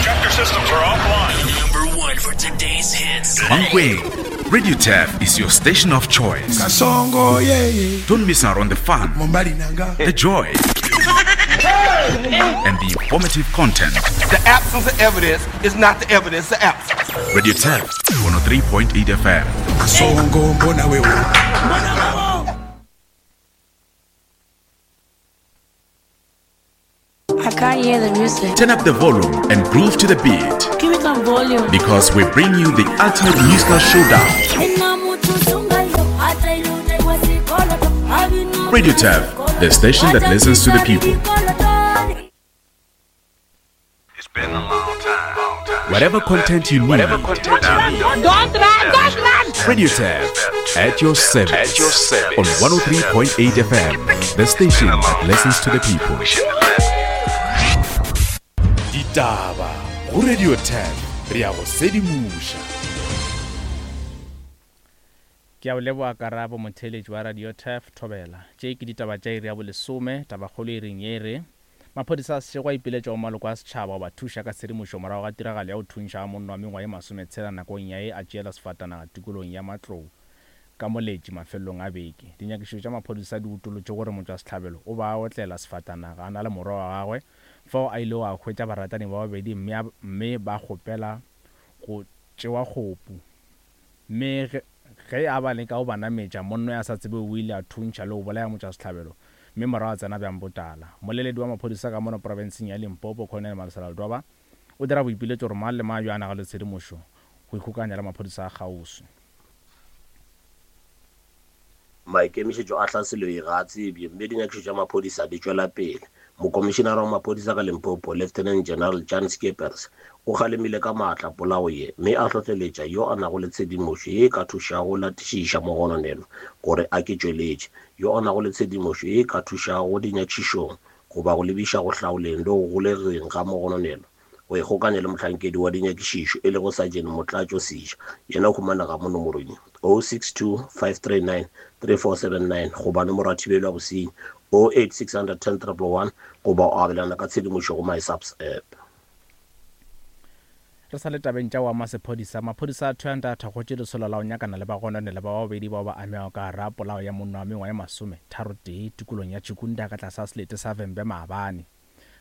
Check your systems are offline. Number one for today's hits. Mankweng, Radio Turf is your station of choice. Kasongo, yeah, yeah. Don't miss out on the fun, Mobali nanga. the joy, and the informative content. The absence of evidence is not the evidence of absence. Radio Turf, 103.8 FM. Kasongo, mbona wewe. I can't hear the music. Turn up the volume and groove to the beat Give me some volume. because we bring you the ultimate musical showdown. Radio Turf, the station that listens to the people. It's been a long time. Long time. Whatever content you need, Whatever content you need. Don't run, don't run! Radio Turf at your service. At your service. On 103.8 FM, the station that listens to the people. We shouldn't have left. Ditaba go Radio 10 re a go sedimoša. Ke a o leboga Karabo motheeletši wa Radio Turf Thobela. Tše ke ditaba tša iri ya bolesome, tabakgolo iring ye e re, Maphodisa a Seshego a ipiletša go maloko a setšhaba go ba thuša ka tshedimošo morago ga tiragalo ya go thuntšha ga monna wa mengwaga ye masometshela nakong ya ye a tšeela sefatanaga tikolong ya Matlou ka Moletši mafelelong a beke. Dinyakišišo tša maphodisa di utolotše gore motšwasehlabelo o ba a otlela sefatanaga a na le morwa wa gagwe fao a ilego a hwetša baratani ba babedi mme a mme ba kgopela go tšewa kgopu. Mme ge, ge a ba leka go ba nametša, monno ya sa tsebego o ile a thuntšha le go bolaya motšwasehlabelo mme morago a tsena bjang botala. Moleledi wa maphodisa ka mono profenseng ya Limpopo, Colonel Malesela Ledwaba, o dira boipiletšo gore mang le mang yo a nago le tshedimošo go ikgokaganya le maphodisa a kgauswi. Maikemišetšo a hlaselo ye ga a tsebje mme dinyakišišo tša maphodisa di tšwela pele. Mokomišenara wa maphodisa ka Limpopo, Lieutenant General Jan Scheepers, o kgalemile ka maatla polao ye mme a hlohleletša yo a nago le tshedimošo ye e ka thušago go latišiša mogononelwa gore a ke tšweletše. Yo a nago le tshedimošo ye e ka thušago dinyakišišong goba go lebiša go hlaoleng le go golegeng ga mogononelwa go ikgokanya le mohlankedi wa dinyakišišo e lego Sergeant Motlatšo Seja, yena o humanega mo nomorong ye, 062 539 3479 goba nomoro ya thibelo ya bosenyi 08 610 111 goba o abelana ka tshedimošo go MySAPS app. Re sa le tabeng tša go ama sephodisa, maphodisa a Thohoyandou a thakgotše lesolo la go nyakana le bagononelwa ba babedi bao ba amegago ka gare ga polao ya monna wa mengwaga ye masometharotee tikolong ya Chikunda ka tlase ga selete sa Vhembe maabane.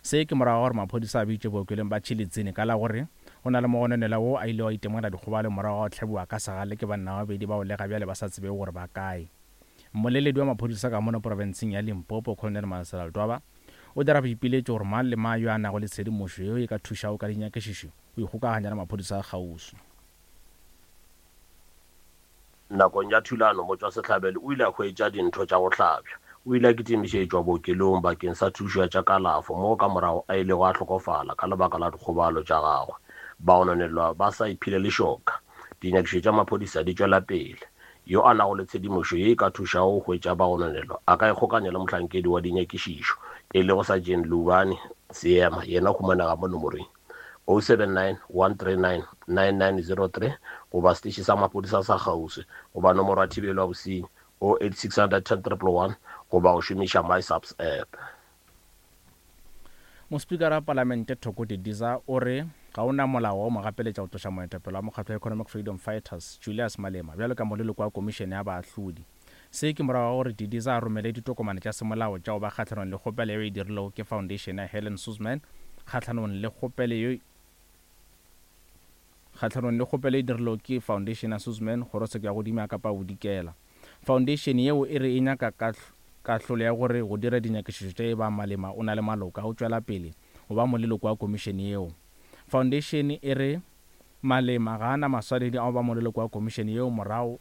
Se ke morago ga gore maphodisa a bitšwe bookelong ba Tshilidzini ka la gore go na le mogononelwa wo a ilego a itemogela dikgobalo morago ga go hlabiwa ka segale ke banna ba babedi bao le ga bjale ba sa tsebego gore ba kae. Mmoleledi wa maphodisa ka mono profenseng ya Limpopo, Colonel Malesela Ledwaba, o dira boipiletšo gore mang le mang yo a nago le tshedimošo yeo e ka thušago ka dinyakišišo go ikgokaganya le maphodisa a kgauswi. Nakong ya thulano, motšwasehlabelo o ile a hwetša dintho tša go hlabja. O ile a kitimišetšwa bookelong bakeng sa thušo ya tša kalafo moo ka morago a ilego a hlokofala ka lebaka la dikgobalo tša gagwe. Bagononelwa ba sa iphile lešoka. Dinyakišišo tša maphodisa di tšwela pele. Yo a nago le tshedimošo ye e ka thušago go hwetša bagononelwa a ka ikgokanya le mohlankedi wa dinyakišišo e lego Sergeant Lubani Seema, yena o humanega mo nomorong 079 139 9903 goba seteše sa maphodisa sa kgauswi goba nomoro ya thibelo ya bosenyi 08 610 111 goba go šomiša MySAPS app. Mospikara wa Palamente Thoko Didiza o re ga o na molao wa go mo gapeletša go tloša moetapele wa mokgatlo wa Economic Freedom Fighters, Julius Malema, bjalo ka moleloko wa komišene ya baahlodi. Se ke morago ga gore Didiza a romele ditokomane tša semolao tša go ba kgahlanong le kgopelo yeo e dirilwego ke Foundation ya Helen Suzman kgahlanong le kgopelo yeo kgahlanong le kgopelo e dirilwego ke Foundation ya Suzman kgorotsheko ya godimo ya Kapa Bodikela. Foundation yeo e re e nyaka kahlolo ya gore go dire dinyakišišo tša e ba Malema o na le maloka a go tšwela pele go ba moleloko wa komišene yeo. Foundation e re Malema ga a na maswanedi a go ba moleloko wa komišene yeo morago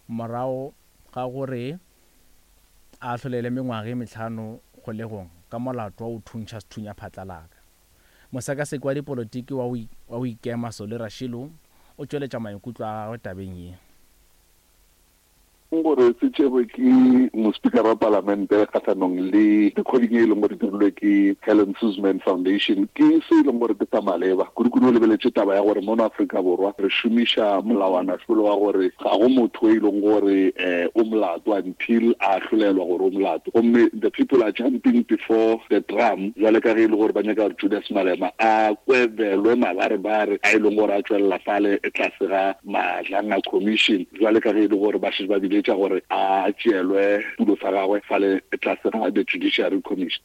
morago ga gore a ahlolelwe mengwaga e mehlano kgolegong ka molato wa go thuntšha sethunya phatlalaka. Mosekaseki wa dipolotiki wa go ikema Solly Rashilo o tšweletša maikutlo a gagwe tabeng ye. Gore se tšerwe ke mospikara wa palamente kgahlanong le recording e leng gore dirilwe ke Helen Suzman Foundation ke se e leng gore ke sa maleba, kudu-kudu o lebeletše taba ya gore mono Afrika Borwa re šomiša molawana-hlolo wa gore ga go motho e leng gore o molato until a ahlolelwa gore o molato, gomme the people are jumping before the drum bjale ka ge e le gore ba nyaka gore Julius Malema a kwebelwe mabarebare a e leng gore a tšwelela fale tlase ga Madlanga Commission bjale ka ge e le gore ba šetše ba biletša gore a tšeelwe tulo sa gagwe fale tlase ga the Judiciary Commission.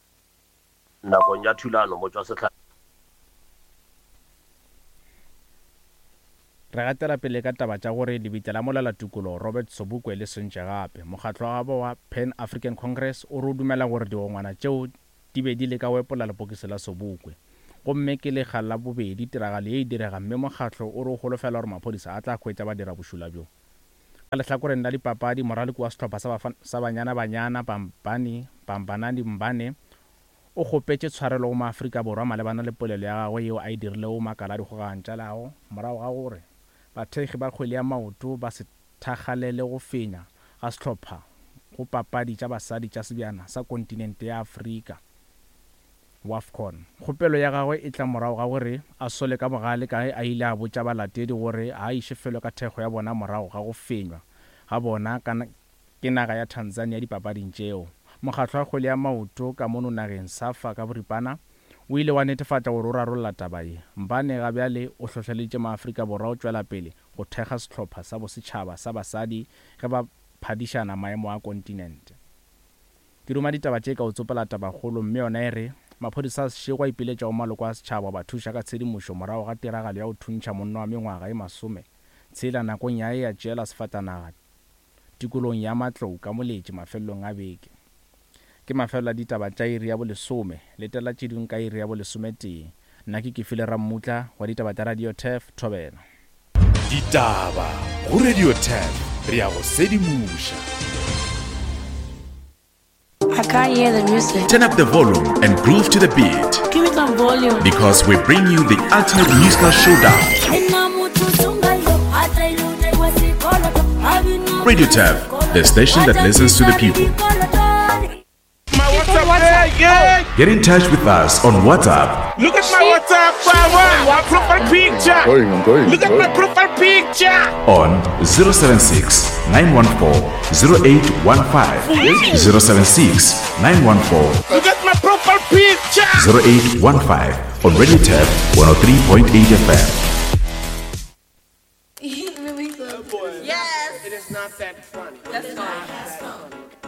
Nakong ya thulano, motšwasehlabelo. Re gatela pele ka taba tša gore lebitla la molwelatukologo Robert Sobukwe le sentše gape. Mokgatlo wa gabo wa Pan African Congress o re o dumela gore digongwana tšeo di be di leka go epolla lepokisi la Sobukwe. Gomme ke lekga la bobedi tiragalo ye e direga mme mokgatlo o re o holofela gore maphodisa a tla hwetša badirabošula bjo. Ka lehlakoreng la dipapadi, moraloki wa sehlopha sa sa Banyana Banyana, Bambani Bambanani Mbane, o kgopetše tshwarelo go maAfrika Borwa malebana le polelo ya gagwe yeo a e dirilego go makala a dikgokagano tša leago morago ga gore bathekgi ba kgwele ya maoto ba se thakgalele go fenya ga sehlopha go papadi tša basadi tša sebjana sa kontinente ya Afrika, WAFCON. Kgopelo ya gagwe e tla morago ga gore a sole ka bogale ka ge a ile a botša balatedi gore ga a iše felo ka thekgo ya bona morago ga go fenywa ga bona ka ke naga ya Tanzania dipapading tšeo. Mokgatlo wa kgwele ya maoto ka mono nageng, SAFA ka boripana, o ile wa netefatša gore o rarolla taba ye. Mbane ga bjale o hlohleleditše maAfrika Borwa go tšwela pele go thekga sehlopha sa bosetšhaba sa basadi ge ba phadišana maemo a kontinente. Ke duma ditaba tše ka o tsopola tabakgolo mme yona e re, Maphodisa a Seshego a ipiletša go maloko a setšhaba go ba thuša ka tshedimošo morago ga tiragalo ya go thuntšha monna wa mengwaga e masometshela nakong ya ge a tšeela sefatanaga tikolong ya Matlou ka Moletši mafelelong a beke. Ke mafelelo a ditaba tša iri ya bolesome. Letela tše dingwe ka iri ya bolesometee. Nna ke Kefile Rammutla wa ditaba tša Radio Turf, Thobela. Ditaba go Radio Turf, re a go sedimoša. I can't hear the music. Turn up the volume and groove to the beat. Give me some volume. Because we bring you the ultimate musical showdown. Radio Turf, the station that listens to the people. Get in touch with us on WhatsApp. Look at my WhatsApp, my profile picture. I'm going, I'm going, Look at my profile picture. On 076 914 0815. 076 914 Look at my profile picture. 0815 on Radio Tab 103.8 FM. Yes. It is not that funny. That's fine.